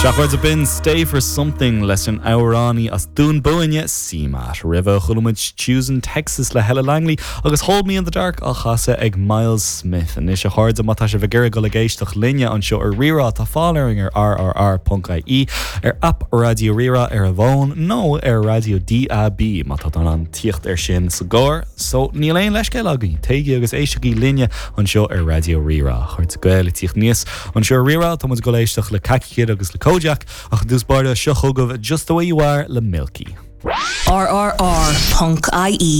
Sea, a chairde, b'in Stay For Something leis an amhránaí as Dún Búinne, CMAT. Roimhe, chuala muid Choosing Texas le Hella Langley agus Hold Me In The Dark á chasadh ag Myles Smith. Anois, a chairde, má tá sibh ag iarraidh dul ag éisteacht linne anseo ar Rí-Rá, tá fáil orainn ar rrr.ie, ar aip Raidió Rí-Rá ar an bhfón nó ar raidió DAB má tá tú in ann tíocht air sin sa gcarr. So, níl aon leithscéal againn, téigí agus éistigí linne anseo ar Raidió Rí-Rá. A chairde Gael ag tíocht aníos anseo ar Rí-Rá, tá muid ag dul éisteacht le Khaki Kid agus le Kojaque, ach i dtús báire, seo chugaibh Just The Way You Are le Milky. RRR.ie.